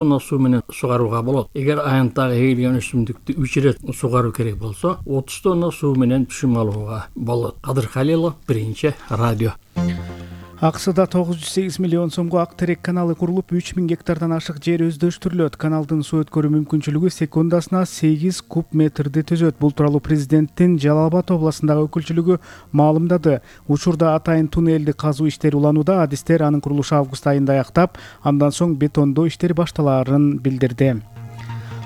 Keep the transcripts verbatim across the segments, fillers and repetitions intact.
суу менен сугарууга болот. Эгер аянттагы эгилген өсүмдүктү үч ирет сугаруу керек болсо, отуз тонна суу менен түшүм алууга болот. Кадыр Халилов, Биринчи радио. АКШда тогуз жүз сегиз миллион сомго Ак терек каналы курулуп, үч миң гектардан ашык жер өздөштүрүлөт. Каналдын суу өткөрүү мүмкүнчүлүгү секундасына сегиз куб метрди түзөт. Бул тууралуу президенттин Жалал Абад областындагы өкүлчүлүгү маалымдады. Учурда атайын туннелди казуу иштери уланууда. Адистер анын курулушу август айында аяктап, андан соң бетондоо иштери башталаарын билдирди.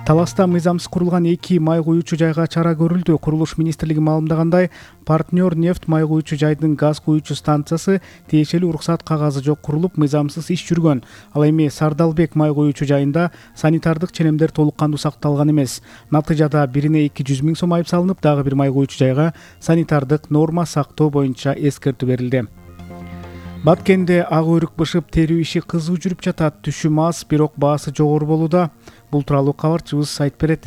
Таласта мыйзамсыз курулган эки май куюучу жайга чара көрүлдү. Курулуш министрлиги маалымдагандай, Партнер нефть май куюучу жайдын газ куюучу станциясы тиешелүү уруксат кагазы жок курулуп, мыйзамсыз иш жүргөн. Ал эми Сардалбек май куюучу жайында санитардык ченемдер толук кандуу сакталган эмес. Натыйжада бирине эки жүз миң сом айып салынып, дагы бир май куюучу жайга санитардык норма сактоо боюнча эскертүү берилди. Баткенде ак өрүк бышып, терүү иши кызуу жүрүп жатат. Түшүм аз, бирок баасы жогору болууда. Бул тууралуу кабарчыбыз айтып берет.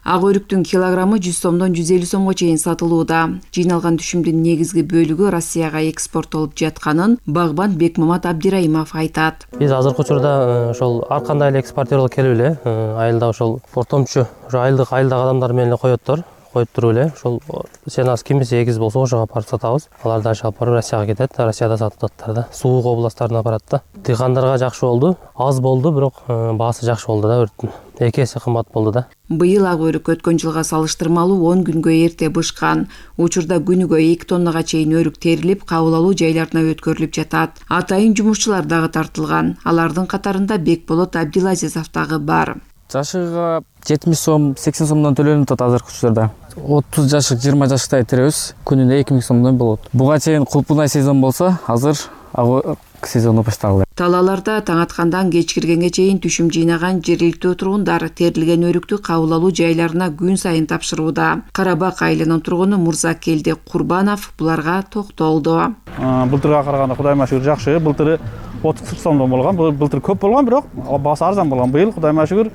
Ак өрүктүн килограммы жүз сомдон жүз элүү сомго чейин сатылууда. Жыйналган түшүмдүн негизги бөлүгү Россияга экспорттолуп жатканын багбан Бекмамат Абдирайымов айтат. Биз азыркы учурда ошол ар кандай эле экспортёрлор келип эле айылда ошол ортомчу айылдык айылдагы адамдар менен эле коёттор. Коюп туруп эле ошол сенас кимиси эгиз болсо ошого барып сатабыз. Алар дагы алып барып Россияга кетет, Россияда сатып атат да. Суук областтарына барат да. Дыйкандарга жакшы болду, аз болду, бирок баасы жакшы болду да өрттүн. эки эсе кымбат болду да. Быйыл ак өрүк өткөн жылга салыштырмалуу он күнгө эрте бышкан. Учурда күнүгө эки тоннага чейин өрүк терилип, кабыл алуу жайларына өткөрүлүп жатат. Атайын жумушчулар дагы тартылган. Алардын катарында Бекболот Абдилазизов дагы бар. Жашыгы жетимиш сом, сексен сомдон төлөнүп атат азыркы учурда. отуз жашык, жыйырма жашыктай теребиз. Күнүнө эки миң сомдон болот. Буга чейин кулпунай сезон болсо, азыр ак сезону башталды. Талааларда таң аткандан кеч киргенге чейин түшүм жыйнаган жергиликтүү тургундар терилген өрүктү кабыл алуу жайларына күн сайын тапшырууда. Карабак айылынын тургуну Мурзакелди Курбанов буларга токтолду. Былтырга караганда Кудайыма шүгүр жакшы. Былтыры отуз кырк сомдон болгон. Былтыр көп болгон, бирок баасы арзан болгон. Быйыл Кудайыма шүгүр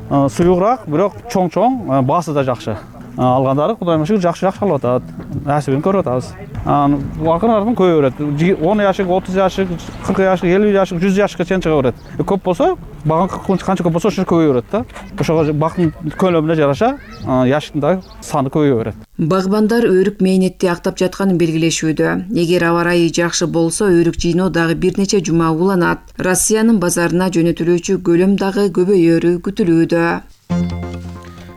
суюгураак, бирок чоң-чоң, баасы да жакшы. Алгандары Кудайыма шүгүр жакшы-жакшы алып атат. Насибин көрүп атабыз. Акырын-акырын көбөйө берет. он жашык, отуз жашык, кырк жашык, элүү жашык, жүз жашыкка чейин чыга берет. Көп болсо, багынкы канча көп болсо ошо көбөйө берет да. Ошого бактын көлөмүнө жараша жашыктын дагы саны көбөйө берет. Багбандар өрүк мээнетти актап жатканын белгилешүүдө. Эгер аба ырайы жакшы болсо, өрүк жыйноо дагы бир нече жума уланат. Россиянын базарына жөнөтүлүүчү көлөм дагы көбөйөрү күтүлүүдө.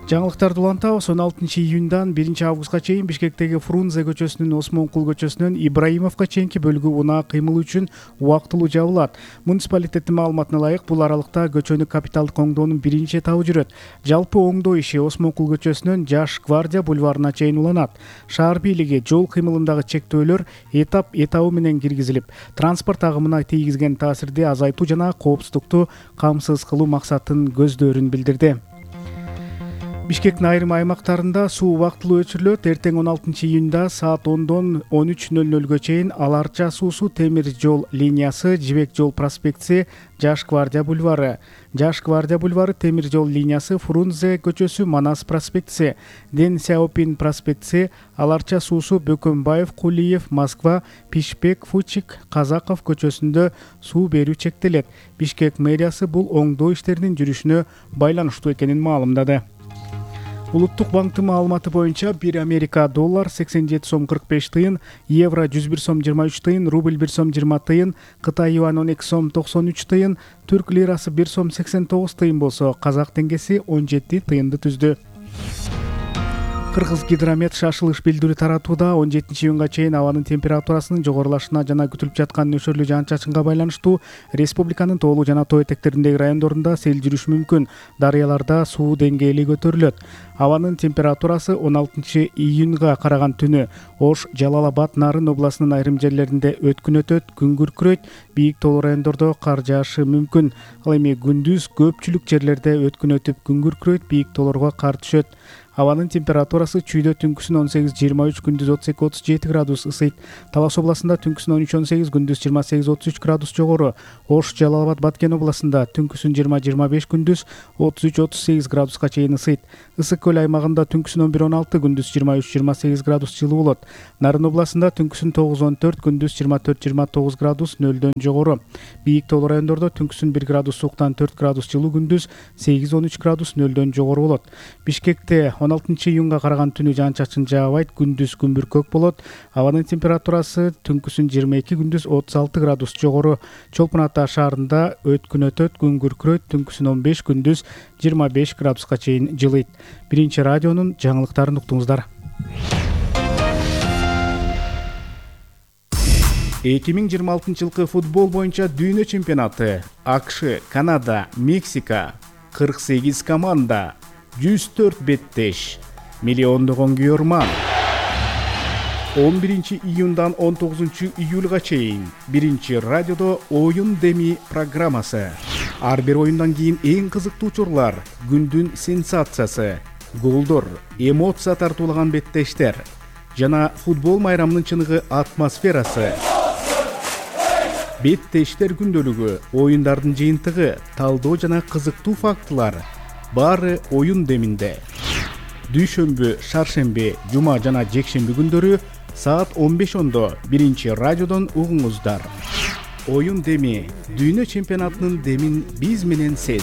Жаңылыктарды улантабыз. он алтынчы июндан биринчи августка чейин Бишкектеги Фрунзе көчөсүнүн Осмонкул көчөсүнөн Ибраимовго чейинки бөлүгү унаа кыймыл үчүн убактылуу жабылат. Муниципалитеттин маалыматына ылайык, бул аралыкта көчөнү капиталдык оңдоонун биринчи этабы жүрөт. Жалпы оңдоо иши Осмонкул көчөсүнөн Жаш Гвардия бульварына чейин уланат. Шаар бийлиги жол кыймылындагы чектөөлөр этап этабы менен киргизилип, транспорт агымына тийгизген таасирди азайтуу жана коопсуздукту камсыз кылуу максатын көздөрүн билдирди. Бишкектин айрым аймактарында суу убактылуу өчүрүлөт. Эртең он алтынчы июнда саат ондон он үч нөл нөлгө чейин Аларча суусу темир жол линиясы, Жибек жол проспектиси, Жаш Гвардия бульвары, Жаш Гвардия бульвары, темир жол линиясы, Фрунзе көчөсү, Манас проспектиси, Ден Сяопин проспектиси, Аларча суусу, Бөкөнбаев, Кулиев, Москва, Пишпек, Фучик, Казаков көчөсүндө суу берүү чектелет. Бишкек мэриясы бул оңдоо иштеринин жүрүшүнө байланыштуу экенин маалымдады. Улуттук банктын маалыматы боюнча бир Америка доллар сексен жети сом кырк беш тыйын, евро жүз бир сом жыйырма үч тыйын, рубль бир сом жыйырма тыйын, Кытай юань он эки сом токсон үч тыйын, түрк лирасы бир сом сексен тогуз тыйын болсо, казак теңгеси он жети тыйынды түздү. Кыргыз гидромет шашылыш билдирүү таратууда. он жетинчи июнга чейин абанын температурасынын жогорулашына жана күтүлүп жаткан нөшөрлүү жаан-чачынга байланыштуу республиканын тоолуу жана тоо этектериндеги райондорунда сел жүрүшү мүмкүн. Дарыяларда суу деңгээли көтөрүлөт. Абанын температурасы он алтынчы июнга караган түнү Ош, Жалал Абад, Нарын областынын айрым жерлеринде өткүн өтөт, күн күркүрөйт, бийик тоолуу райондордо кар жаашы мүмкүн. Ал эми күндүз көпчүлүк жерлерде өткүн өтүп, күн күркүрөйт, бийик тоолорго кар түшөт. Абанын температурасы чүйдө түнкүсүн он сегиз жыйырма үч, күндүз отуз эки отуз жети градус ысыйт. Талас областында түнкүсүн он үч он сегиз, күндүз жыйырма сегиз отуз үч градус жогору. Ош, Жалал абад, Баткен областында түнкүсүн жыйырма жыйырма беш, күндүз отуз үч отуз сегиз градуска чейин ысыйт. Ысык көл аймагында түнкүсүн он бир он алты, күндүз жыйырма үч жыйырма сегиз градус жылуу болот. Нарын областында түнкүсүн тогуз он төрт, күндүз жыйырма төрт жыйырма тогуз градус нөлдөн жогору. Бийик тоолуу райондордо түнкүсүн бир градус сууктан төрт градус жылуу, күндүз сегиз он үч градус нөлдөн жогору болот. Бишкекте он алтынчы июнга караган түнү жаан-чачын жаабайт, күндүз күнбүркөк болот. Абанын температурасы түнкүсүн жыйырма эки, күндүз отуз алты градус жогору. Чолпон Ата шаарында өткүн өтөт, күн күркүрөйт, түнкүсүн он беш, күндүз жыйырма беш градуска чейин жылыйт. Биринчи радионун жаңылыктарын уктуңуздар. эки миң жыйырма алтынчы жылкы футбол боюнча дүйнө чемпионаты. АКШ, Канада, Мексика, кырк сегиз команда, жүз төрт беттеш, миллиондогон күйөрман. он биринчи июндан он тогузунчу июлга чейин биринчи радиодо оюн деми программасы. Ар бир оюндан кийин эң кызыктуу учурлар, күндүн сенсациясы, голдор, эмоция тартуулаган беттештер жана футбол майрамынын чыныгы атмосферасы. Беттештер күндөлүгү, оюндардын жыйынтыгы, талдоо жана кызыктуу фактылар баары оюн деминде. Дүйшөмбү, шаршемби, жума жана жекшемби күндөрү саат он беш ондо биринчи радиодон угуңуздар. Оюн деми, дүйнө чемпионатынын демин биз менен сез.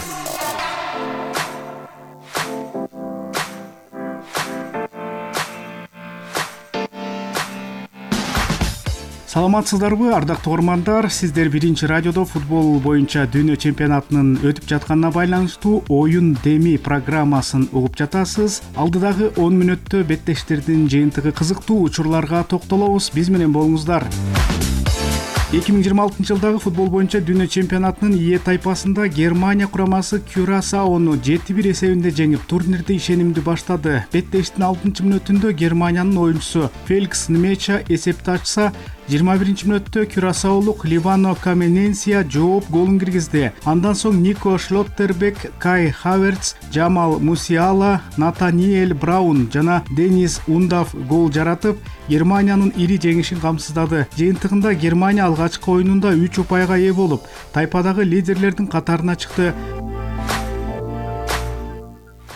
Саламатсыздарбы, ардактуу угармандар? Сиздер биринчи радиодо футбол боюнча дүйнө чемпионатынын өтүп жатканына байланыштуу оюн деми программасын угуп жатасыз. Алдыдагы он мүнөттө беттештердин жыйынтыгы кызыктуу учурларга токтолобуз. Биз менен болуңуздар. эки миң жыйырма алтынчы жылдагы футбол боюнча дүйнө чемпионатынын Е тайпасында Германия курамасы Кюрасаону жети бир эсебинде жеңип, турнирди ишенимдүү баштады. Беттештин алтынчы мүнөтүндө Германиянын оюнчусу Феликс Нмеча эсепти ачса, жыйырма биринчи мүнөттө Кюрасаолук Ливано Камененсия жооп голун киргизди. Андан соң Нико Шлоттербек, Кай Хаверц, Джамал Мусиала, Натаниэль Браун жана Денис Ундав гол жаратып, Германиянын ири жеңишин камсыздады. Жыйынтыгында Германия алгачкы оюнунда үч упайга ээ болуп, тайпадагы лидерлердин катарына чыкты.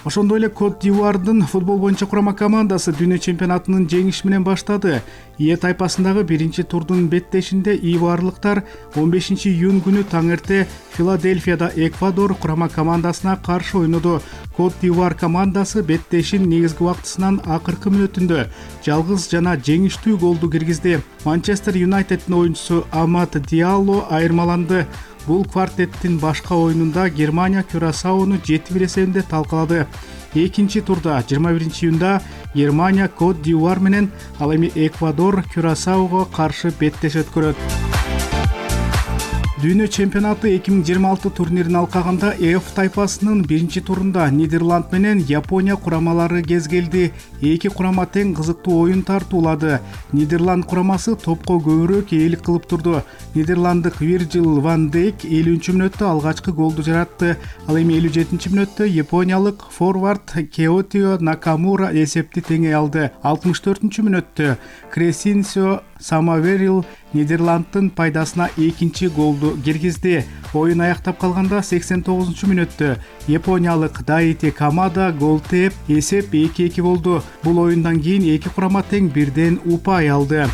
Ошондой эле Кот д'Ивуардын футбол боюнча курама командасы дүйнө чемпионатынын жеңиши менен баштады. Е тайпасындагы биринчи турдун беттешинде ивуарлыктар он бешинчи июнь күнү таңерте Филадельфияда Эквадор курама командасына каршы ойноду. Кот д'Ивуар командасы беттешин негизги убактысынын акыркы мүнөтүндө жалгыз жана жеңиштүү голду киргизди. Манчестер Юнайтеддин оюнчусу Амад Диалло айырмаланды. Бул квартеттин башка оюнунда Германия Кюрасаону жети бир эсебинде талкалады. Экинчи турда жыйырма биринчи июнда Германия Кот д'Ивуар менен, ал эми Эквадор Кюрасаого каршы беттеш өткөрөт. Дүйнө чемпионаты эки миң жыйырма алты турнирин алкаганда F тайпасынын биринчи турунда Нидерланд менен Япония курамалары кез келди. Эки курама тең кызыктуу оюн тартуулады. Нидерланд курамасы топко көбүрөөк ээлик кылып турду. Нидерланддык Вирджил ван Дейк элүүнчү мүнөттө алгачкы голду жаратты. Ал эми элүү жетинчи мүнөттө япониялык форвард Кеотио Накамура эсепти теңей алды. алтымыш төртүнчү мүнөттө Кресинсио Самаверил Нидерланддын пайдасына экинчи голду киргизди. Оюн аяктап калганда сексен тогузунчу мүнөттө япониялык Даити Камада гол тээп, эсеп эки эки болду. Бул оюндан кийин эки курама тең бирден упай алды.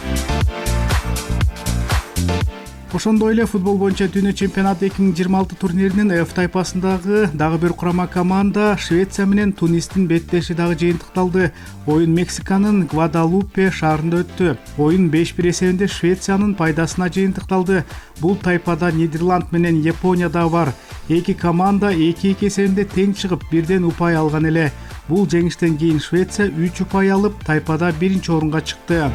Ошондой эле футбол боюнча дүйнө чемпионаты эки миң жыйырма алты турниринин F тайпасындагы дагы бир курама команда Швеция менен Тунистин беттеши дагы жыйынтыкталды. Оюн Мексиканын Гвадалупе шаарында өттү. Оюн беш бир эсебинде Швециянын пайдасына жыйынтыкталды. Бул тайпада Нидерланд менен Япония да бар. Эки команда эки эки эсебинде тең чыгып, бирден упай алган эле. Бул жеңиштен кийин Швеция үч упай алып, тайпада биринчи орунга чыкты.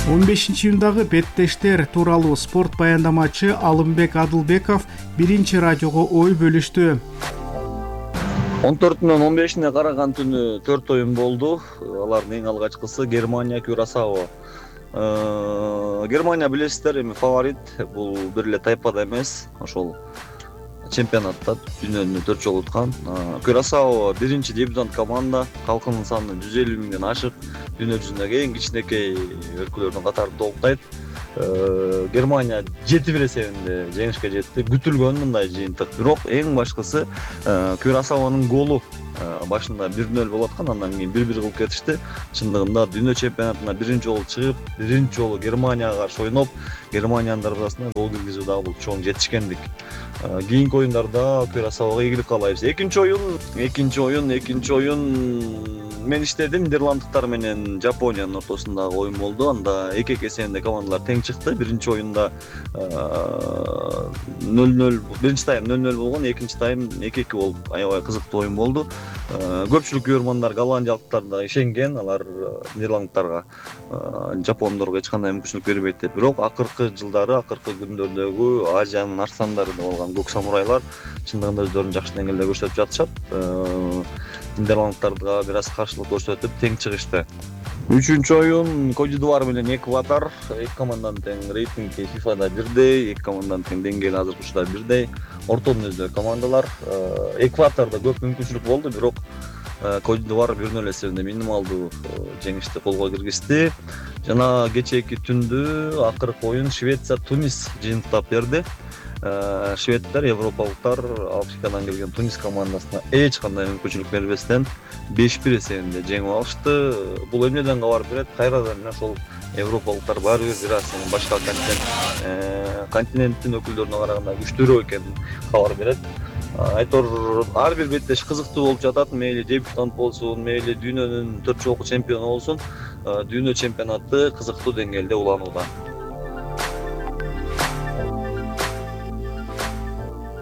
он бешинчи июндагы беттештер тууралуу спорт баяндамачы Алымбек Адылбеков биринчи радиого ой бөлүштү. он төртүнөн он бешине караган түнү төрт оюн болду. Алардын эң алгачкысы Германия Кюрасао. Германия билесиздер, эми фаворит. Бул бир эле тайпада эмес, ошол чемпионатта дүйнөнү төрт жолу уткан. Кюрасао биринчи дебютант команда, калкынын саны жүз элүү миңден ашык, дүйнө жүзүндөгү эң кичинекей өлкөлөрдүн катарында толуктайт. Германия жети бир эсебинде жеңишке жетти. Күтүлгөн мындай жыйынтык. Бирок эң башкысы Кюрасаонун голу башында бир нөл болуп аткан, андан кийин бир бир кылып кетишти. Чындыгында дүйнө чемпионатына биринчи жолу чыгып, биринчи жолу Германияга каршы ойноп, Германиянын дарбазасына гол киргизүү дагы бул чоң жетишкендик. Кийинки оюндарда Кюрасаого ийгилик каалайбыз. Экинчи оюн, экинчи оюн, экинчи оюн мен иштедим. Нидерланддыктар менен Жапониянын ортосундагы оюн болду. Анда эки-эки эсебинде командалар тең чыкты. Биринчи оюнда нөл нөл, биринчи тайм нөл нөл болгон, экинчи тайм эки-эки болуп, аябай кызыктуу оюн болду. Көпчүлүк көрөрмандар голландиялыктар да ишенген, алар нидерланддыктарга, жапондорго эч кандай мүмкүнчүлүк бербейт деп. Бирок акыркы жылдары, акыркы күндөрдөгү Азиянын арстандары деп алган көк самурайлар чындыгында өздөрүн жакшы деңгээлде көрсөтүп жатышат. Нидерланддыктарга бир аз каршылык көрсөтүп тең чыгышты. Үчүнчү оюн Кодидуар менен Эквадор. Эки команданын тең рейтинги фифада бирдей, эки команданын тең деңгээли азыркы учурда бирдей. Орто мүнөздүү командалар. Эквадордо көп мүмкүнчүлүк болду, бирок Кодидуар бир нөл эсебинде минималдуу жеңишти колго киргизди. Жана кечээки түндү акыркы оюн Швеция Тунис жыйынтыктап берди. Шведтер, европалыктар Африкадан келген Тунис командасына эч кандай мүмкүнчүлүк бербестен беш бир эсебинде жеңип алышты. Бул эмнеден кабар берет? Кайрадан ошол европалыктар баары бир бир аз башка континент континенттин өкүлдөрүнө караганда күчтүүрөөк экенин кабар берет. Айтор ар бир беттеш кызыктуу болуп жатат. Мейли дебютант болсун, мейли дүйнөнүн төрт жолку чемпиону болсун, дүйнө чемпионаты кызыктуу деңгээлде уланууда.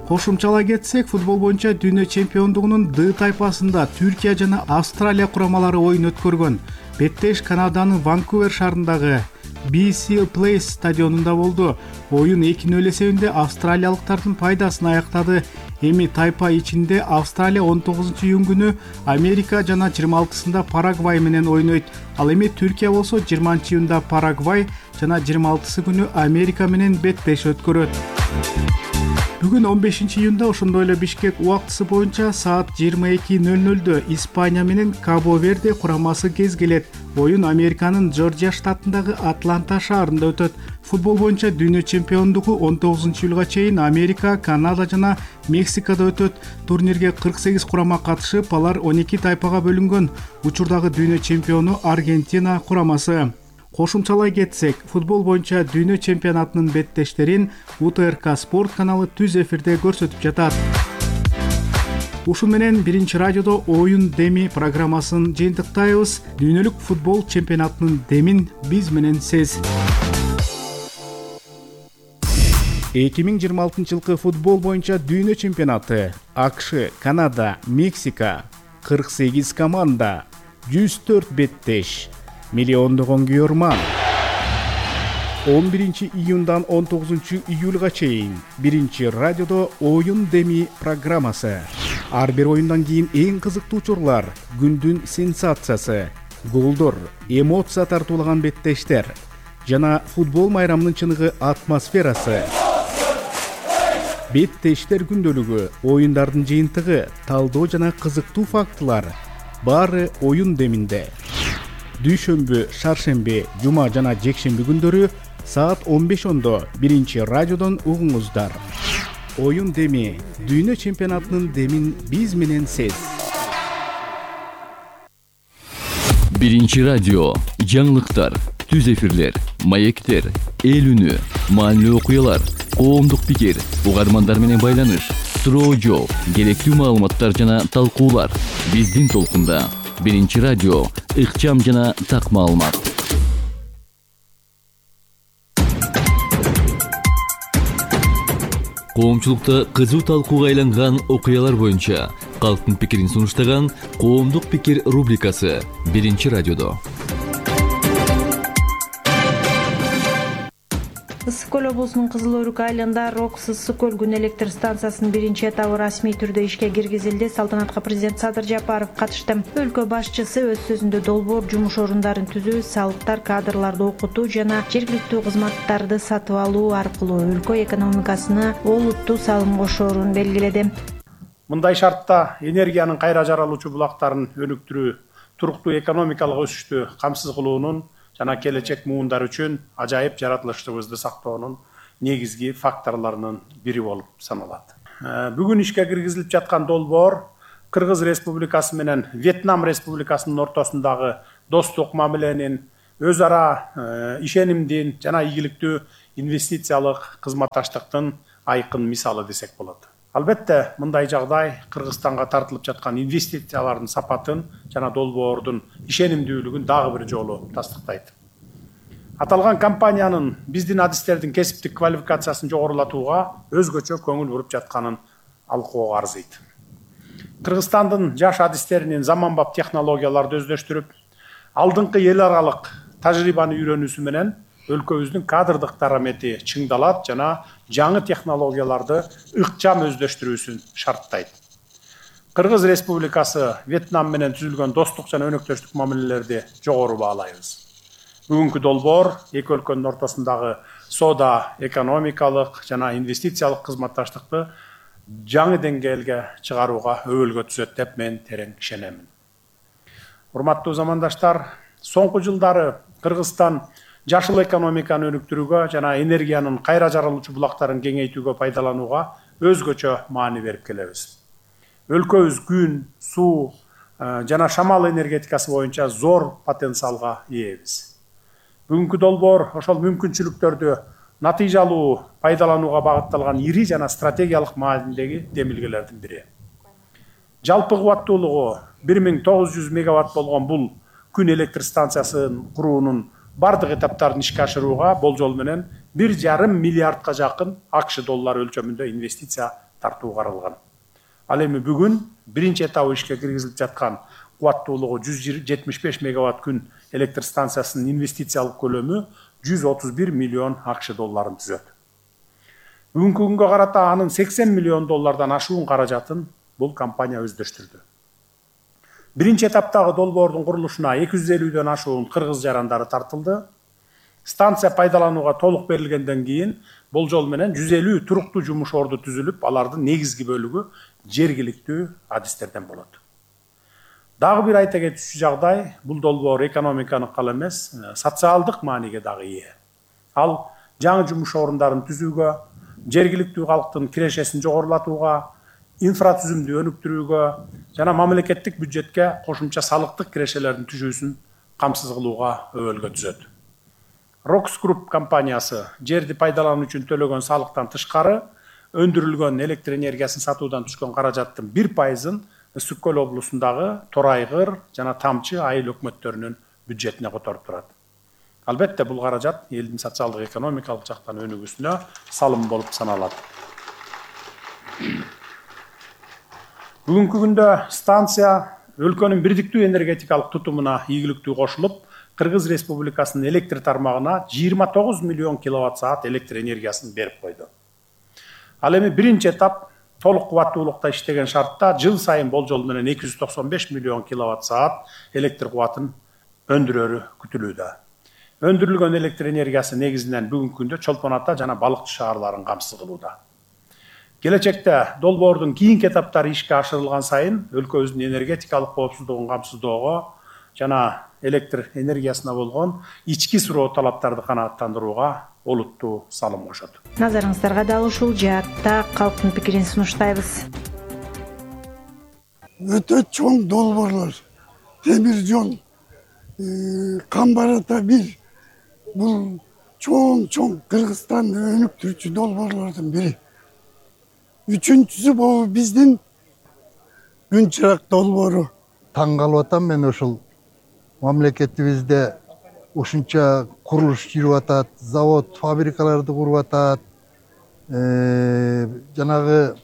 Кошумчалай кетсек, футбол боюнча дүйнө чемпиондугунун Д тайпасында Түркия жана Австралия курамалары оюн өткөргөн. Беттеш Канаданын Ванкувер шаарындагы би си Place стадионунда болду. Оюн эки нөл эсебинде австралиялыктардын пайдасына аяктады. Эми тайпа ичинде Австралия он тогузунчу июнь күнү Америка жана жыйырма алтысында Парагвай менен ойнойт. Ал эми Түркия болсо жыйырманчы июнда Парагвай жана жыйырма алтысы күнү Америка менен беттеш өткөрөт. Бүгүн он бешинчи июнда ошондой эле Бишкек убактысы боюнча саат жыйырма эки нөл нөлдө Испания менен Кабо Верде курамасы кезгелет. Оюн Американын Джорджия штатындагы Атланта шаарында өтөт. Футбол боюнча дүйнө чемпиондугу он тогузунчу июлга чейин Америка, Канада жана Мексикада өтөт. Турнирге кырк сегиз курама катышып, алар он эки тайпага бөлүнгөн. Учурдагы дүйнө чемпиону Аргентина курамасы. Кошумчалай кетсек, футбол боюнча дүйнө чемпионатынын беттештерин У Т Р К Спорт каналы түз эфирде көрсөтүп жатат. Ушун менен биринчи радиодо оюн деми программасын жыйынтыктайбыз. Дүйнөлүк футбол чемпионатынын демин биз менен сез. эки миң жыйырма алтынчы жылкы футбол боюнча дүйнө чемпионаты. А К Ш, Канада, Мексика, кырк сегиз команда, жүз төрт беттеш, миллиондогон көрөрман. он биринчи июндан он тогузунчу июлга чейин биринчи радиодо оюн деми программасы. Ар бир оюндан кийин эң кызыктуу учурлар, күндүн сенсациясы, голдор, эмоция тартуулаган беттештер жана футбол майрамынын чыныгы атмосферасы. Беттештер күндөлүгү, оюндардын жыйынтыгы, талдоо жана кызыктуу фактылар баары оюн деминде. Дүйшөмбү, шаршемби, жума жана жекшемби күндөрү саат он беш ондо биринчи радиодон угуңуздар. Оюн деми, дүйнө чемпионатынын демин биз менен сез. Биринчи радио, жаңылыктар, түз эфирлер, маектер, эл үнү, маанилүү окуялар, коомдук пикир, угармандар менен байланыш, суроо жооп, керектүү маалыматтар жана талкуулар биздин толкунда. Биринчи радио, ыкчам жана так маалымат. Коомчулукта кызуу талкууга айланган окуялар боюнча калктын пикирин сунуштаган коомдук пикир рубрикасы биринчи радиодо. Ысык көл облусунун Кызыл Өрүк айылында Рокс ысык көл күн электр станциясынын биринчи этабы расмий түрдө ишке киргизилди. Салтанатка президент Садыр Жапаров катышты. Өлкө башчысы өз сөзүндө долбоор жумуш орундарын түзүү, салыктар, кадрларды окутуу жана жергиликтүү кызматтарды сатып алуу аркылуу өлкө экономикасына олуттуу салым кошоорун белгиледи. Мындай шартта энергиянын кайра жаралуучу булактарын өнүктүрүү туруктуу экономикалык өсүштү камсыз кылуунун жана келечек муундар үчүн ажайып жаратылыштарыбызды сактоонун негизги факторлорунун бири болуп саналат. Бүгүн ишке киргизилип жаткан долбоор Кыргыз Республикасы менен Вьетнам Республикасынын ортосундагы достук мамиленин, өз ара ишенимдин жана ийгиликтүү инвестициялык кызматташтыктын айкын мисалы десек болот. Албетте, мындай жагдай Кыргызстанга тартылып жаткан инвестициялардын сапатын жана долбоордун ишенимдүүлүгүн дагы бир жолу тастыктайт. Аталган компаниянын биздин адистердин кесиптик квалификациясын жогорулатууга өзгөчө көңүл буруп жатканын алкууга арзыйт. Кыргызстандын жаш адистеринин заманбап технологияларды өздөштүрүп, алдыңкы эл аралык тажрыйбаны үйрөнүүсү менен өлкөбүздүн кадрдык дарамети чыңдалат жана жаңы технологияларды ыкчам өздөштүрүүсүн шарттайт. Кыргыз Республикасы Вьетнам менен түзүлгөн достук жана өнөктөштүк мамилелерди жогору баалайбыз. Бүгүнкү долбоор эки өлкөнүн ортосундагы соода, экономикалык жана инвестициялык кызматташтыкты жаңы деңгээлге чыгарууга өбөлгө түзөт деп мен терең ишенемин. Урматтуу замандаштар, соңку жылдары Кыргызстан жашыл экономиканы өнүктүрүүгө жана энергиянын кайра жаралуучу булактарын кеңейтүүгө пайдаланууга өзгөчө маани берип келебиз. Өлкөбүз күн, суу жана шамал энергетикасы боюнча зор потенциалга ээбиз. Бүгүнкү долбоор ошол мүмкүнчүлүктөрдү натыйжалуу пайдаланууга багытталган ири жана стратегиялык маанидеги демилгелердин бири. Жалпы кубаттуулугу бир миң тогуз жүз мегаватт болгон бул күн электр станциясын куруунун бардык этаптарын ишке ашырууга болжол менен бир жарым миллиардка жакын АКШ доллары өлчөмүндө инвестиция тартуу каралган. Ал эми бүгүн биринчи этабы ишке киргизилип жаткан кубаттуулугу жүз жетимиш беш мегаватт күн электр станциясынын инвестициялык көлөмү жүз отуз бир миллион АКШ долларын түзөт. Бүгүнкү күнгө карата анын сексен миллион доллардан ашуун каражатын бул компания өздөштүрдү. Биринчи этаптагы долбоордун курулушуна эки жүз элүүдөн ашуун кыргыз жарандары тартылды. Станция пайдаланууга толук берилгенден кийин болжол менен жүз элүү туруктуу жумуш орду түзүлүп, алардын негизги бөлүгү жергиликтүү адистерден болот. Дагы бир айта кетүүчү жагдай, бул долбоор экономиканы гана эмес, социалдык мааниге дагы ээ. Ал жаңы жумуш орундарын түзүүгө, жергиликтүү калктын кирешесин жогорулатууга, инфратүзүмдү өнүктүрүүгө жана мамлекеттик бюджетке кошумча салыктык кирешелердин түшүүсүн камсыз кылууга өбөлгө түзөт. Рокс Групп компаниясы жерди пайдалануу үчүн төлөгөн салыктан тышкары өндүрүлгөн электр энергиясын сатуудан түшкөн каражаттын бир пайызын Ысык көл облусундагы Торайгыр жана Тамчы айыл өкмөттөрүнүн бюджетине которуп турат. Албетте, бул каражат элдин социалдык экономикалык жактан өнүгүүсүнө салым болуп саналат. Бүгүнкү күндө станция өлкөнүн бирдиктүү энергетикалык тутумуна ийгиликтүү кошулуп, Кыргыз Республикасынын электр тармагына жыйырма тогуз миллион киловатт саат электр энергиясын берип койду. Ал эми биринчи этап толук кубаттуулукта иштеген шартта жыл сайын болжол менен эки жүз токсон беш миллион киловатт саат электр кубатын өндүрөрү күтүлүүдө. Өндүрүлгөн электр энергиясы негизинен бүгүнкү күндө Чолпон Ата жана Балыкчы шаарларын камсыз кылууда. Келечекте долбоордун кийинки этаптары ишке ашырылган сайын өлкөбүздүн энергетикалык коопсуздугун камсыздоого жана электр энергиясына болгон ички суроо талаптарды канааттандырууга олуттуу салым кошот. Назарыңыздарга дал ушул жаатта калктын пикирин сунуштайбыз. Өтө чоң долбоорлор, темир жол, Камбар Ата бир, бул чоң-чоң Кыргызстанды өнүктүрүүчү долбоорлордун бири. Үчүнчүсү бул биздин күн чырак долбоору. Таң калып атам мен ушул мамлекетибизде ушунча курулуш жүрүп атат, завод, фабрикаларды куруп атат, жанагы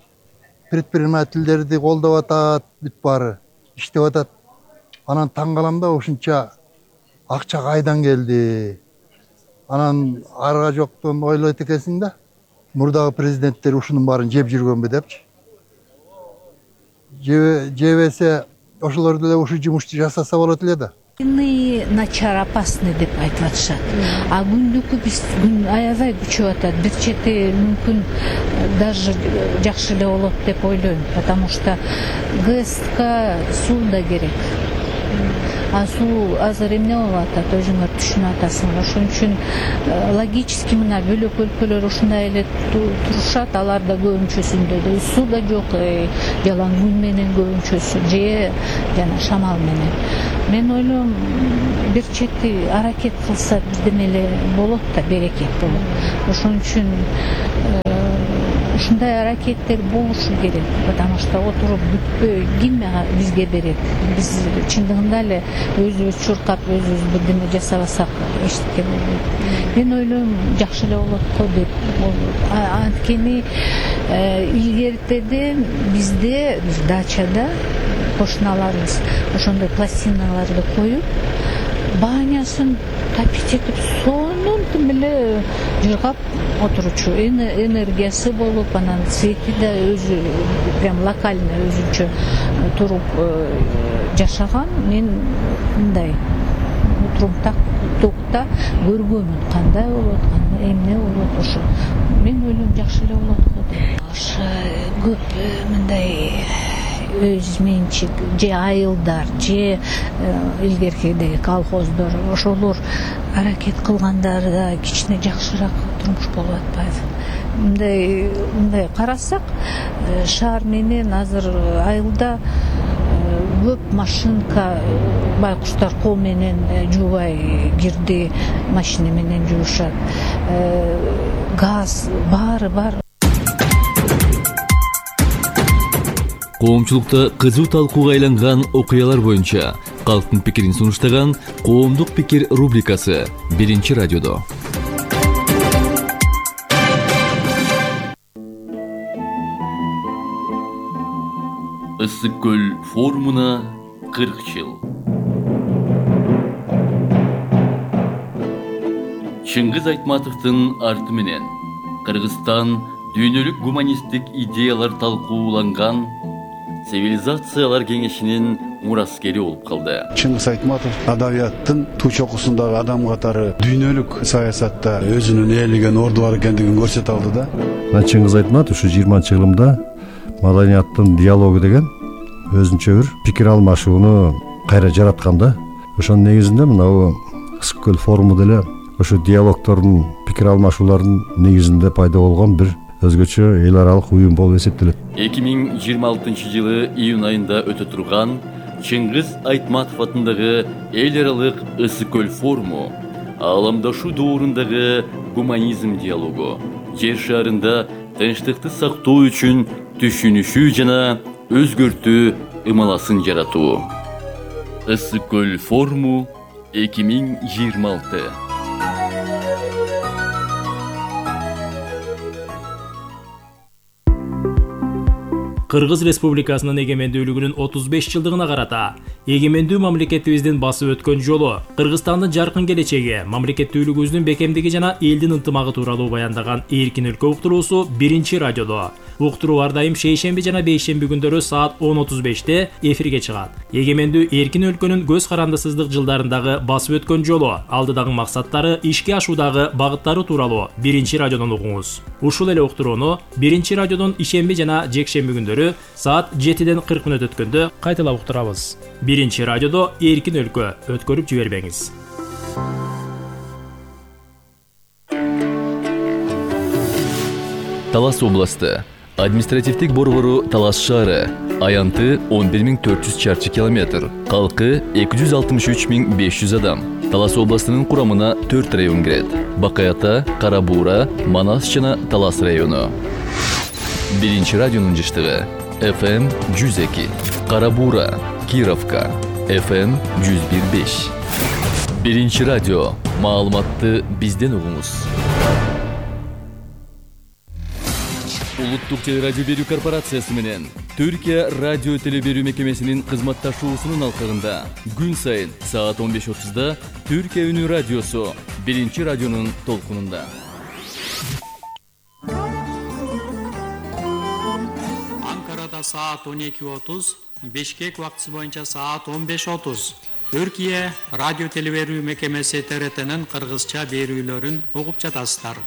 предпринимательдерди колдоп атат, бүт баары иштеп атат. Анан таң калам да, ушунча акча кайдан келди? Ошондой эле ушул долбоордун ишке ашырылышына анан арга жоктон ойлойт экенсиң да. Мурдагы президенттер ушунун баарын жеп жүргөнбү депчи. Жебесе ошолор деле ушу жумушту жасаса болот эле да. Начар опасный деп айтып атышат. А күндүкү биз күн аябай күчөп атат. Бир чети мүмкүн даже жакшы эле болот деп ойлойм, потому что ГЭСка суу да керек. А суу азыр эмне болуп атат, өзүңөр түшүнүп атасыңар. Ошон үчүн логически мына бөлөк өлкөлөр ушундай эле турушат, аларда көбүнчөсүндө да суу да жок, жалаң күн менен көбүнчөсү же жана шамал менен. Мен ойлойм, бир чети аракет кылса бирдеме эле болот да, берекет болот. Ошон үчүн ушундай аракеттер болушу керек, потому что отуруп бүткөй ким бизге берет? Биз чындыгында эле өзүбүз чуркап, өзүбүз бирдеме жасабасак эчтеке болбойт. Мен ойлойм, жакшы эле болот го деп. Анткени илгертеде бизде, биз дачада кошуналарыбыз ошондой пластиналарды коюп, баанясын тапить этип, сонун тим эле жыргап отуручу, энергиясы болуп, анан цвети да өзү прям локальный өзүнчө туруп жашаган. Мен мындай отурумтак токта көргөнмүн, кандай болот, кандай эмне болот. Ошо мен ойлойм, жакшы эле болот го деп. Ошо көп мындай өз менчик же айылдар же илгеркидеги колхоздор, ошолор аракет кылгандары да кичине жакшыраак турмуш болуп атпайбы? Мындай мындай карасак, шаар менен азыр айылда көп машинка, байкуштар кол менен жуубай кирди, машина менен жуушат. Газ баары бар. Коомчулукта кызуу талкууга айланган окуялар боюнча калктын пикирин сунуштаган Коомдук пикир рубрикасы биринчи радиодо. Ысык көл форумуна кырк жыл. Чыңгыз Айтматовдун арты менен Кыргызстан дүйнөлүк гуманисттик идеялар талкууланган цивилизациялар кеңешинин мураскери болуп калды. Чыңгыз Айтматов адабияттын туу чокусундагы адам катары дүйнөлүк саясатта өзүнүн ээлеген орду бар экендигин көрсөтө алды да. Чыңгыз Айтматов ушу жыйырманчы кылымда маданияттын диалогу деген өзүнчө бир пикир алмашууну кайра жараткан да. Ошонун негизинде мына Ысык көл форуму деле ошо диалогтордун, пикир алмашуулардын негизинде пайда болгон бир өзгөчө эл аралык уюм болуп эсептелет. эки миң жыйырма алтынчы жылы июнь айында өтө турган Чыңгыз Айтматов атындагы эл аралык Ысык көл форуму ааламдашуу доорундагы гуманизм диалогу, жер шарында тынчтыкты сактоо үчүн түшүнүшүү жана өзгөртүү ымаласын жаратуу. Ысык көл форуму эки миң жыйырма алты. Кыргыз Республикасынын эгемендүүлүгүнүн отуз беш жылдыгына карата эгемендүү мамлекетибиздин басып өткөн жолу, Кыргызстандын жаркын келечеги, мамлекеттүүлүгүбүздүн бекемдиги жана элдин ынтымагы тууралуу баяндаган Эркин өлкө уктуруусу биринчи радиодо. Уктуруу ар дайым шейшемби жана бейшемби күндөрү саат он отуз беште эфирге чыгат. Эгемендүү эркин өлкөнүн көз карандысыздык жылдарындагы басып өткөн жолу, алдыдагы максаттары, ишке ашуудагы багыттары тууралуу биринчи радиодон угуңуз. Ушул эле уктурууну биринчи радиодон ишемби жана жекшемби күндөрү саат жетиден кырк мүнөт өткөндө кайталап уктурабыз. Биринчи радиодо Эркин өлкө, өткөрүп жибербеңиз. Талас областы. Административдик борбору Талас шаары. Аянты он бир миң төрт жүз чарчы километр. Калкы эки жүз алтымыш үч миң беш жүз адам. Талас областынын курамына төрт район кирет. Бакаята, Карабуура, Манас жана Талас району. Биринчи радионун жыштыгы эф эм жүз эки. Карабуура, Кировка, эф эм жүз бир беш. Биринчи радио. Маалыматты бизден угуңуз. Улуттук телерадио берүү корпорациясы менен Түркия радио теле берүү мекемесинин кызматташуусунун алкагында күн сайын саат он беш отузда Түркия үнү радиосу биринчи радионун толкунунда. Анкарада саат он эки отуз, Бишкек убактысы боюнча саат он беш отуз. Түркия радио телеберүү мекемеси Т Р Т'нин кыргызча берүүлөрүн угуп жатасыздар.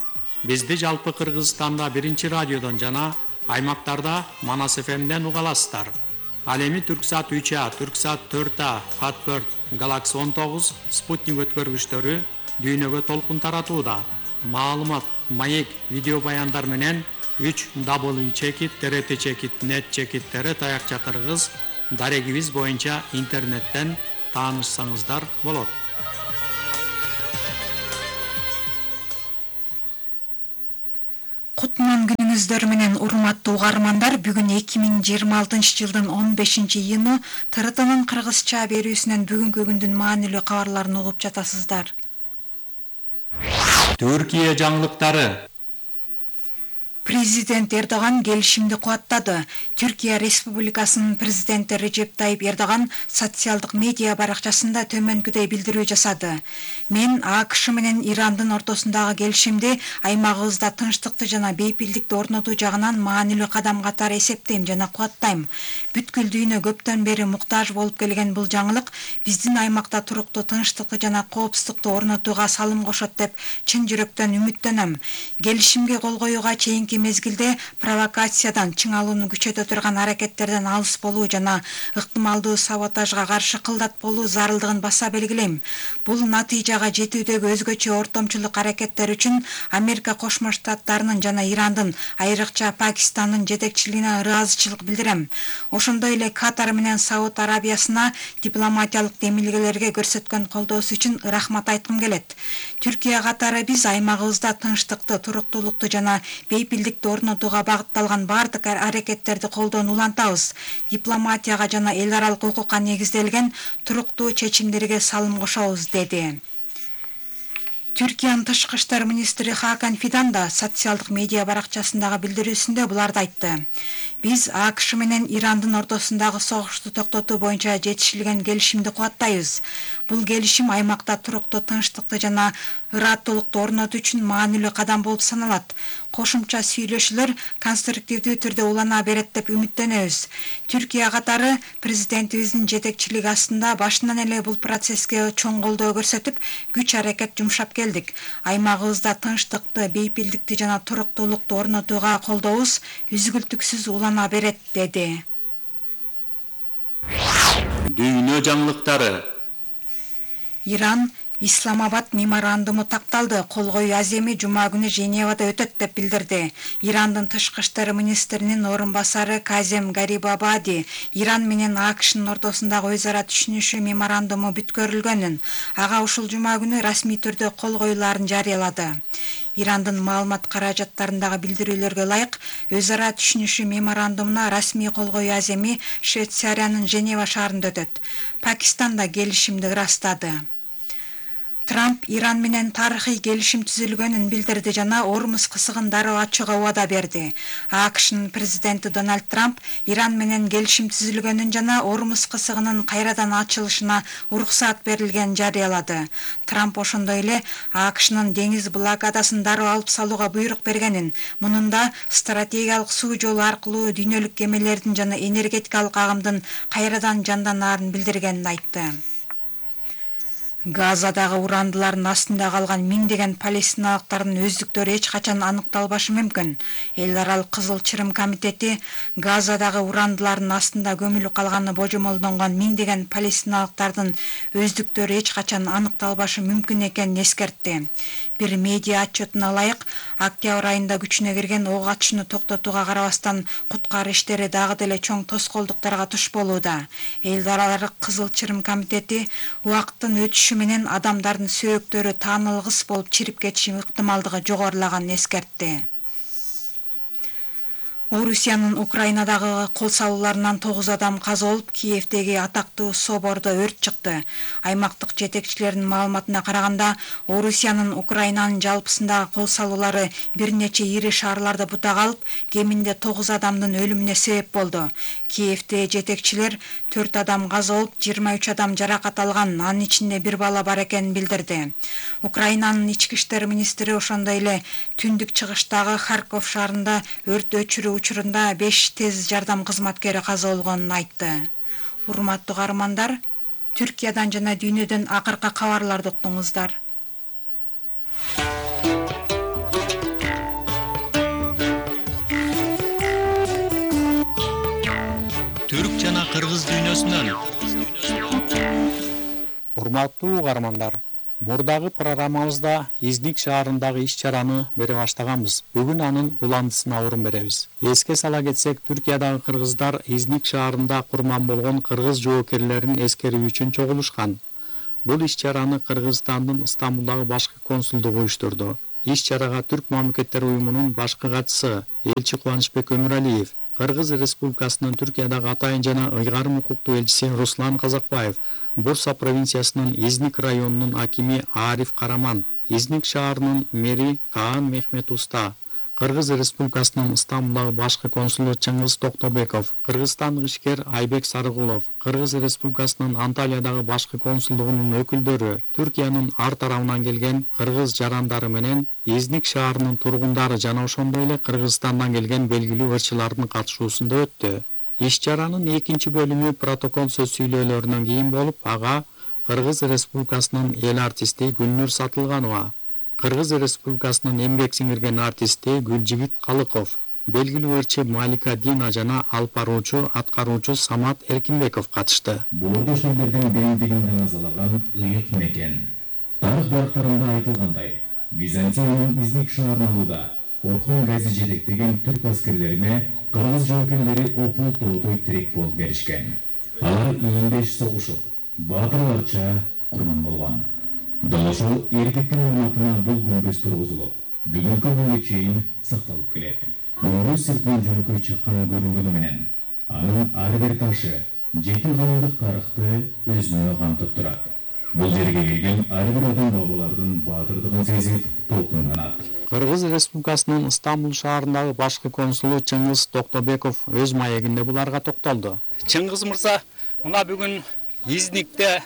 Бизди жалпы Кыргызстанда биринчи радиодон жана аймактарда Манас эф эмден уга аласыздар. Ал эми Түрксат үч А, Түрксат төрт А, Хатберт, Galaxy он тогуз, Спутник өткөргүчтөрү дүйнөгө толкун таратууда. Маалымат, маек, видео баяндар менен үч дабл ю чекит т р т чекит нет чекиттери таякча кыргыз дарегибиз боюнча интернеттен таанышсаңыздар болот. Кутман күнүңүздөр менен урматтуу угармандар, бүгүн эки миң жыйырма алтынчы жылдын он бешинчи июну Т Р Т'нын кыргызча берүүсүнөн бүгүнкү күндүн маанилүү кабарларын угуп жатасыздар. Түркия жаңылыктары. Президент Эрдоган келишимди кубаттады. Түркия Республикасынын президенти Режеп Тайип Эрдоган социалдык медиа баракчасында төмөнкүдөй билдирүү жасады. Мен А К Ш менен Ирандын ортосундагы келишимди аймагыбызда тынчтыкты жана бейпилдикти орнотуу жагынан маанилүү кадам катары эсептейм жана кубаттайм. Бүткүл дүйнө көптөн бери муктаж болуп келген бул жаңылык биздин аймакта туруктуу тынчтыкты жана коопсуздукту орнотууга салым кошот деп чын жүрөктөн үмүттөнөм. Келишимге кол коюуга чейинки мезгилде провокациядан, чыңалууну күчөтө турган аракеттерден алыс болуу жана ыктымалдуу саботажга каршы кылдат болуу зарылдыгын баса белгилейм. Бул натыйжага жетүүдөгү өзгөчө ортомчулук аракеттер үчүн Америка Кошмо Штаттарынын жана Ирандын, айрыкча Пакистандын жетекчилигине ыраазычылык билдирем. Ошондой эле Катар менен Сауд Арабиясына дипломатиялык демилгелерге көрсөткөн колдоосу үчүн рахмат айткым келет. Түркия катары биз аймагыбызда тынчтыкты, туруктуулукту жана бейпилдикти орнотууга багытталган бардык аракеттерди колдоону улантабыз. Дипломатияга жана эл аралык укукка негизделген туруктуу чечимдерге салым кошобуз, деди. Түркиянын тышкы иштер министри Хакан Фидан да социалдык медиа баракчасындагы билдирүүсүндө буларды айтты. Биз А К Ш менен Ирандын ортосундагы согушту токтотуу боюнча жетишилген келишимди кубаттайбыз. Бул келишим аймакта туруктуу тынчтыкты жана ыраттуулукту орнотуу үчүн маанилүү кадам болуп саналат. Кошумча сүйлөшүүлөр конструктивдүү түрдө улана берет деп үмүттөнөбүз. Түркия катары президентибиздин жетекчилиги астында башынан эле бул процесске чоң колдоо көрсөтүп, күч аракет жумшап келдик. Аймагыбызда тынчтыкты, бейпилдикти жана туруктуулукту орнотууга колдообуз үзгүлтүксүз улана берет, деди. Дүйнө жаңылыктары. Иран Исламабад меморандуму такталды. Кол коюу аземи жума күнү Женевада өтөт деп билдирди. Ирандын тышкы иштер министринин орун басары Казем Гарибабади Иран менен А К Шнын ортосундагы өз ара түшүнүшүү меморандуму бүткөрүлгөнүн, ага ушул жума күнү расмий түрдө кол коюларын жарыялады. Ирандын маалымат каражаттарындагы билдирүүлөргө ылайык, өз ара түшүнүшүү меморандумуна расмий кол коюу аземи Швейцариянын Женева шаарында өтөт. Пакистан да келишимди ырастады. Трамп Иран менен тарыхый келишим түзүлгөнүн билдирди жана Ормуз кысыгын дароо ачууга убада берди. А К Шнын президенти Дональд Трамп Иран менен келишим түзүлгөнүн жана Ормуз кысыгынын кайрадан ачылышына уруксаат берилгенин жарыялады. Трамп ошондой эле А К Шнын деңиз блокадасын дароо алып салууга буйрук бергенин, мунунда стратегиялык суу жолу аркылуу дүйнөлүк кемелердин жана энергетикалык агымдын кайрадан жанданарын билдиргенин айтты. Газадагы урандылардын астында калган миңдеген палестиналыктардын өздүктөрү эч качан аныкталбашы мүмкүн. Эл аралык Кызыл Чырым комитети Газадагы урандылардын астында көмүлүп калганы божомолдонгон миңдеген палестиналыктардын өздүктөрү эч качан аныкталбашы мүмкүн экенин эскертти. Бир медиа отчетуна ылайык, октябрь айында күчүнө кирген ок атышууну токтотууга карабастан куткаруу иштери дагы деле чоң тоскоолдуктарга туш болууда. Эл аралык Кызыл Чырым комитети убакыттын өтүшү менен адамдардын сөөктөрү таанылгыс болуп чирип кетиши ыктымалдыгы жогорулаганын эскертти. Орусиянын Украинадагы кол салууларынан тогуз адам каза болуп, Киевдеги атактуу собордо өрт чыкты. Аймактык жетекчилердин маалыматына караганда, Орусиянын Украинанын жалпысындагы кол салуулары бир нече ири шаарларда бутак алып, кеминде тогуз адамдын өлүмүнө себеп болду. Киевде жетекчилер төрт адам каза болуп, жыйырма үч адам жаракат алган, анын ичинде бир бала бар экенин билдирди. Украинанын ички иштер министри ошондой эле түндүк чыгыштагы Харьков шаарында өрт өчүрүү учурунда беш тез жардам кызматкери каза болгонун айтты. Урматтуу каармандар, Түркиядан жана дүйнөдөн акыркы кабарларды уктуңуздар. Түрк жана кыргыз дүйнөсүнөн. Урматтуу каармандар, мурдагы программабызда Изник шаарындагы иш-чараны бере баштаганбыз. Бүгүн анын уландысына орун беребиз. Эске сала кетсек, Түркиядагы кыргыздар Изник шаарында курман болгон кыргыз жоокерлерин эскерүү үчүн чогулушкан. Бул иш-чараны Кыргызстандын Стамбулдагы башкы консулдугу уюштурду. Иш-чарага Түрк мамлекеттер уюмунун башкы катчысы элчи Кубанычбек Өмүралиев, Кыргыз Республикасынын Түркиядагы атайын жана ыйгарым укуктуу элчиси Руслан Казакбаев, Бурса провинциясынын Изник районунун акими Ариф Караман, Изник шаарынын мэри Каан Мехмет Уста, Кыргыз Республикасынын Стамбулдагы башкы консулу Чыңгыз Токтобеков, кыргызстандык ишкер Айбек Сарыгулов, Кыргыз Республикасынын Анталиядагы башкы консулдугунун өкүлдөрү, Түркиянын ар тарабынан келген кыргыз жарандары менен Изник шаарынын тургундары жана ошондой эле Кыргызстандан келген белгилүү ырчылардын катышуусунда өттү. Иш-чаранын экинчи бөлүмү протокол сөз сүйлөөлөрүнөн кийин болуп, ага Кыргыз Республикасынын эл артисти Гүлнур Сатылганова, Кыргыз Республикасынын эмгек сиңирген артисти Гүлжигит Калыков, белгилүү ырчы Малика Дина жана алып баруучу аткаруучу Самат Эркинбеков катышты. Боордош элдердин биримдигин таңазалаган ыйык мекен. Тарых барактарында айтылгандай, Византиянын Изник шаарын алууда Орхон Гази жетектеген түрк аскерлерине кыргыз жоокерлери опул тоодой тирек болуп беришкен. Алар ийиндеш согушуп, баатырларча курман болгон. Дал ошол эркектин урматына бул күмбөз тургузулуп, бүгүнкү күнгө чейин сакталып келет. Күмбөз сыртынан жөнөкөй чыккан көрүнгөнү менен, анын ар бир ташы жети кылымдык тарыхты өзүнө камтып турат. Бул жерге келген ар бир адам бабалардын баатырдыгын сезип толкунганат. Кыргыз Республикасынын Стамбул шаарындагы башкы консулу Чыңгыз Токтобеков өз маегинде буларга токтолду. Чыңгыз мырза, мына бүгүн Изникте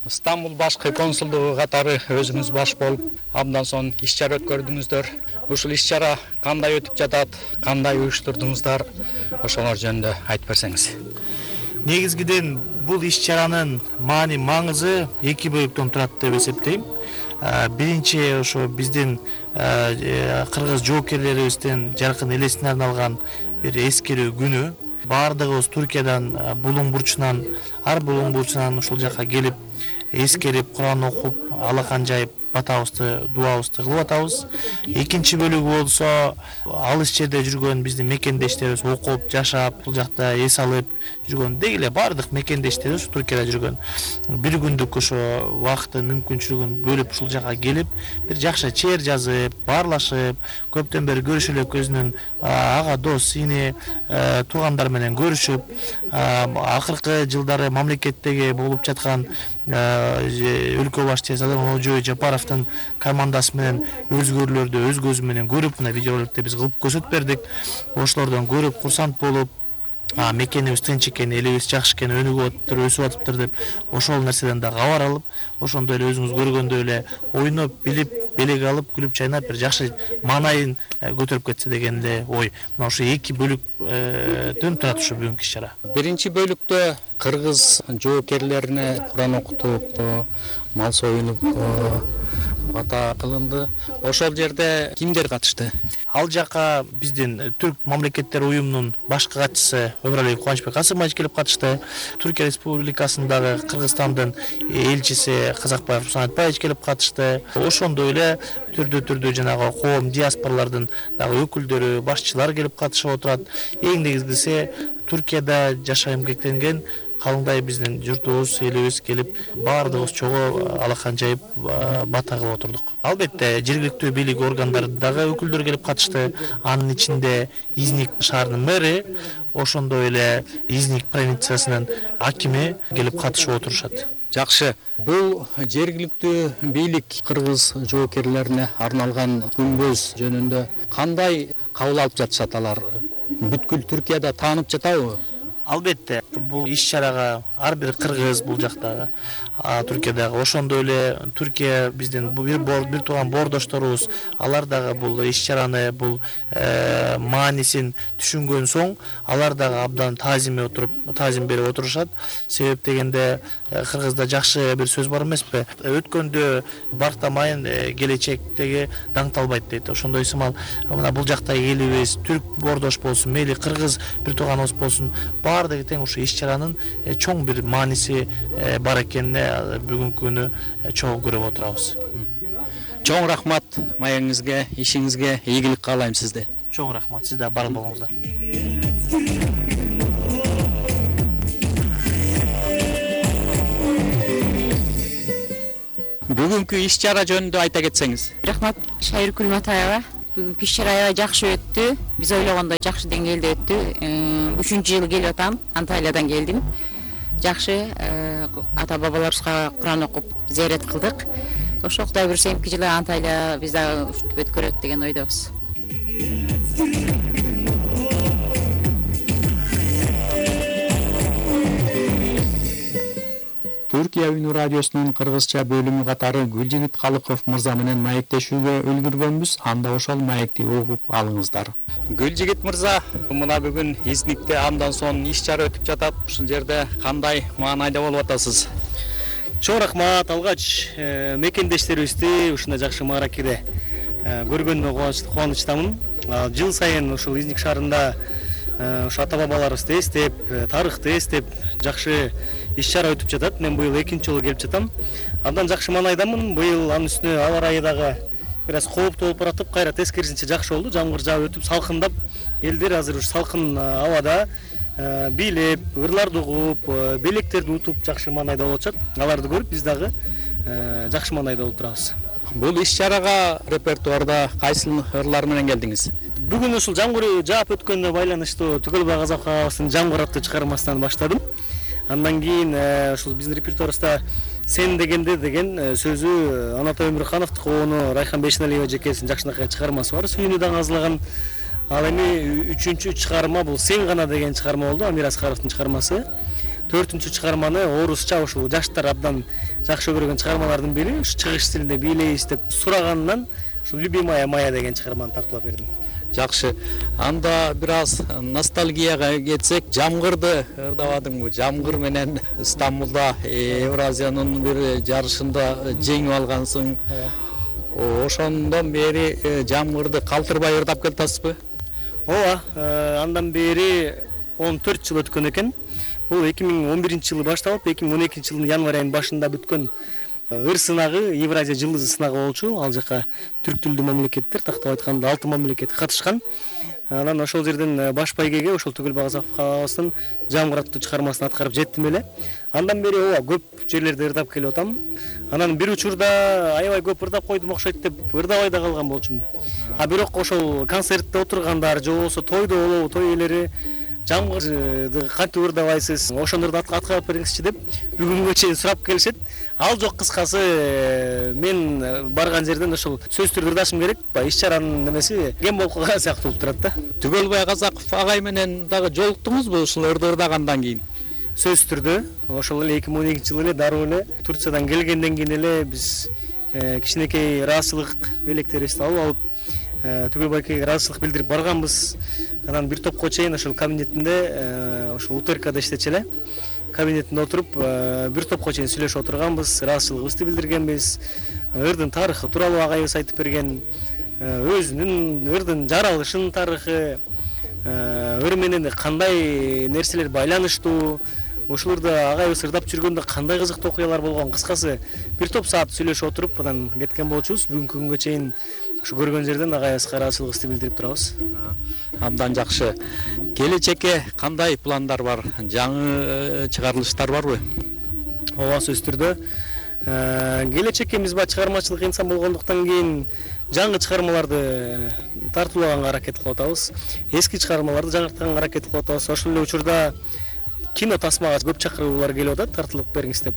Стамбул башкы консулдугу катары өзүңүз баш болуп, абдан сонун иш-чара өткөрдүңүздөр. Ушул иш-чара кандай өтүп жатат, кандай уюштурдуңуздар, ошолор жөнүндө айтып берсеңиз. Негизгиден бул иш-чаранын маани маңызы эки бөлүктөн турат деп эсептейм. Биринчи ошо биздин кыргыз жоокерлерибиздин жаркын элесине арналган бир эскерүү күнү. Баардыгыбыз Түркиядан булуң бурчунан, ар булуң бурчунан ушул жака келип, эскерип, Куран окуп, алакан жайып, батабызды, дуабызды кылып атабыз. Экинчи бөлүгү болсо, алыс жерде жүргөн биздин мекендештерибиз окуп, жашап, бул жакта эс алып жүргөн деги эле баардык мекендештерибиз Түркияда жүргөн. Бир күндүк ошо убакыттын мүмкүнчүлүгүн бөлүп ушул жака келип, бир жакшы чер жазып, баарлашып, көптөн бери көрүшө элек өзүнүн ага дос, сини, туугандар менен көрүшүп, акыркы жылдары мамлекеттеги болуп жаткан өлкө башчысы Садыр Жапаровдун командасы менен өзгөрүүлөрдү өз көзү менен көрүп, мына видеороликти биз кылып көрсөтүп бердик. Ошолордон көрүп, курсант болуп, мекенибиз тынч экен, элибиз жакшы экен, өнүгүп атыптыр, өсүп атыптыр деп ошол нерседен да кабар алып, ошондой эле өзүңүз көргөндөй эле ойноп, билип, белек алып, күлүп чайнап бир жакшы маанайын көтөрүп кетсе деген эле ой. Мына ошо эки бөлүктөн турат ушу бүгүнкү иш-чара. Биринчи бөлүктө кыргыз жоокерлерине Куран окутуп, мал союнуп ата кылынды. Ошол жерде кимдер катышты? Ал жака биздин Түрк мамлекеттер уюмунун башкы катчысы Өмүралиев Кубанычбек Касымович келип катышты. Түркия Республикасындагы Кыргызстандын элчиси Казакбаев Руслан Айтбаевич келип катышты. Ошондой эле түрдүү түрдүү жанагы коом диаспоралардын дагы өкүлдөрү, башчылар келип катышып отурат. Эң негизгиси Түркияда жашай эмгектенген калыңдай биздин журтубуз, элибиз келип, баардыгыбыз чогуу алакан жайып бата кылып отурдук. Албетте, жергиликтүү бийлик органдары дагы өкүлдөр келип катышты. Анын ичинде Изник шаарынын мэри, ошондой эле Изник провинциясынын акими келип катышып отурушат. Жакшы. Бул жергиликтүү бийлик кыргыз жоокерлерине арналган күмбөз жөнүндө кандай кабыл алып жатышат алар? Бүткүл Түркияда таанып жатабы? Албетте, бул иш чарага ар бир кыргыз бул жакта Түркиядагы ошондой эле Түркия биздин бир бир тууган боордошторубуз алар дагы бул иш чараны бул маанисин түшүнгөн соң алар дагы абдан таазим отуруп таазим берип отурушат. Себеп дегенде кыргызда жакшы бир сөз бар эмеспи? Өткөндө бартамайын, келечектеги даңталбайт дейт. Ошондой сымал мына бул жактагы элибиз түрк боордош болсун, мейли кыргыз бир тууганыбыз болсун, баардыгы тең ушу иш чаранын чоң бир мааниси бар экенине бүгүнкү күнү чогуу көрүп отурабыз. Чоң рахмат маегиңизге, ишиңизге ийгилик каалайм сизде. Чоң рахмат, сиз да бар болуңуздар. Бүгүнкү иш чара жөнүндө айта кетсеңиз. Рахмат Шайыркүл Матаева. Бүгүнкү иш чара аябай жакшы өттү. Биз ойлогондой жакшы деңгээлде өттү. Үчүнчү жыл келип атам. Анталиядан келдим. Жакшы ата бабаларыбызга Куран окуп зиярат кылдык. Ошо Кудай буйрса эмки жылы Анталия биз дагы өткөрөт деген ойдобуз. Түркия Үнү радиосунун кыргызча бөлүмү катары Гүлжигит Калыков мырза менен маектешүүгө үлгүргөнбүз. Анда ошол маекти угуп алыңыздар. Гүлжигит мырза, мына бүгүн Изникте андан соң иш чара өтүп жатат. Ушул жерде кандай маанайда болуп атасыз? Чоң рахмат, алгач мекендештерибизди ушундай жакшы мааракеде көргөнүмө кубанычтамын. Жыл сайын ушул Изник шаарында ушу ата бабаларыбызды эстеп, тарыхты эстеп жакшы иш чара өтүп жатат. Мен быйыл экинчи жолу келип жатам. Абдан жакшы маанайдамын. Быйыл анын үстүнө аба ырайы дагы бир аз кооптуу болуп баратып, кайра тескерисинче жакшы болду. Жамгыр жаап өтүп, салкындап, элдер азыр ушу салкын абада бийлеп, ырларды угуп, белектерди утуп жакшы маанайда болуп атышат. Аларды көрүп биз дагы жакшы маанайда болуп турабыз. Бул иш чарага репертуарда кайсы ырлар менен келдиңиз? Бүгүн ушул жамгыр жаап өткөнүнө байланыштуу Түгөлбай Казак агабыздын Жамгыр аттуу чыгармасынан баштадым. Андан кийин ушул биздин репертуарыбызда Сен дегенде деген сөзү Анатай Өмүрхановдук, ону Райхан Бейшеналиева жекесинин жакшынакай чыгармасы бар. Сүйүнү аңазлаган. Ал эми үчүнчү чыгарма бул Сен гана деген чыгарма болду, Амир Аскаровдун чыгармасы. Төртүнчү чыгарманы орусча ушул жаштар абдан жакшы көргөн чыгармалардын бири, ушу чыгыш стилинде бийлейбиз деп сураганынан ушул Любимая моя деген чыгарманы тартуулап бердим. Жакшы. Анда бир аз ностальгияга кетсек, Жамгырды ырдабадыңбы? Жамгыр менен Стамбулда Евразиянын бир жарышында жеңип алгансың. Ошондон бери Жамгырды калтырбай ырдап келатасызбы? Ооба, андан бери он төрт жыл өткөн экен. Бул эки миң он биринчи жылы башталып, эки миң он экинчи жылдын январь айынын башында бүткөн ыр сынагы, Евразия жылдызы сынагы болчу. Ал жака түрк тилдүү мамлекеттер, тактап айтканда алты мамлекет катышкан. Анан ошол жерден баш байгеге ошол Түгөлбай Казак агабыздын Жамгыр аттуу чыгармасын аткарып жеттим эле. Андан бери ооба көп жерлерде ырдап келип атам. Анан бир учурда аябай көп ырдап койдум окшойт деп ырдабай да калган болчумун. А бирок ошол концертте отургандар же болбосо тойдо болобу, той ээлери Жамгырды кантип ырдабайсыз, ошондорду аткарып бериңизчи деп бүгүнгө чейин сурап келишет. Ал жок, кыскасы мен барган жерден ошол сөз түрдө ырдашым керек. Иш чаранын немеси кем болуп калган сыяктуу болуп турат да. Түгөлбай Казаков агай менен дагы жолуктуңузбу ушул ырды ырдагандан кийин? Сөз түрдө ошол эле эки миң он экинчи жылы эле дароо эле Турциядан келгенден кийин эле биз кичинекей ыраазычылык белектерибизди алып алып Түгөлбайга ыраазычылык билдирип барганбыз. Анан бир топко чейин ошол кабинетинде ошол УТРКда иштечү эле. Кабинетинде отуруп бир топко чейин сүйлөшүп отурганбыз, ыраазычылыгыбызды билдиргенбиз. Ырдын тарыхы тууралуу агайыбыз айтып берген, өзүнүн ырдын жаралышынын тарыхы, ыр менен кандай нерселер байланыштуу, ошолорду агайыбыз ырдап жүргөндө кандай кызыктуу окуялар болгон. Кыскасы бир топ саат сүйлөшүп отуруп анан кеткен болчубуз. Бүгүнкү күнгө чейин ушу көргөн жерден агайыбызга ыраазычылыгыбызды билдирип турабыз. Абдан жакшы. Келечекке кандай пландар бар? Жаңы чыгарылыштар барбы? Ооба, сөз түрдө. Келечекке биз баягы чыгармачылык инсан болгондуктан кийин жаңы чыгармаларды тартуулаганга аракет кылып атабыз. Эски чыгармаларды жаңыртканга аракет кылып атабыз. Ошол эле учурда кино тасмага көп чакыруулар келип атат, тартылып бериңиз деп.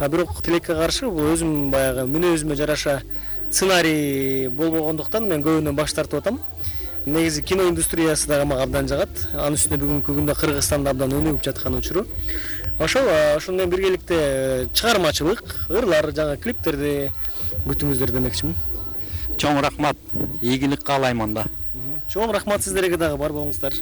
А бирок тилекке каршы бул өзүм баягы мүнөзүмө жараша сценарий болбогондуктан мен көбүнөн баш тартып атам. негизи кино индустриясы дагы мага абдан жагат. Анын үстүнө бүгүнкү күндө Кыргызстанда абдан өнүгүп жаткан учуру. Ошол ошол менен биргеликте чыгармачылык, ырлар, жаңа клиптерди күтүңүздөр демекчимин. Чоң рахмат, ийгилик каалаймын да. Чоң рахмат сиздерге дагы, бар болуңуздар.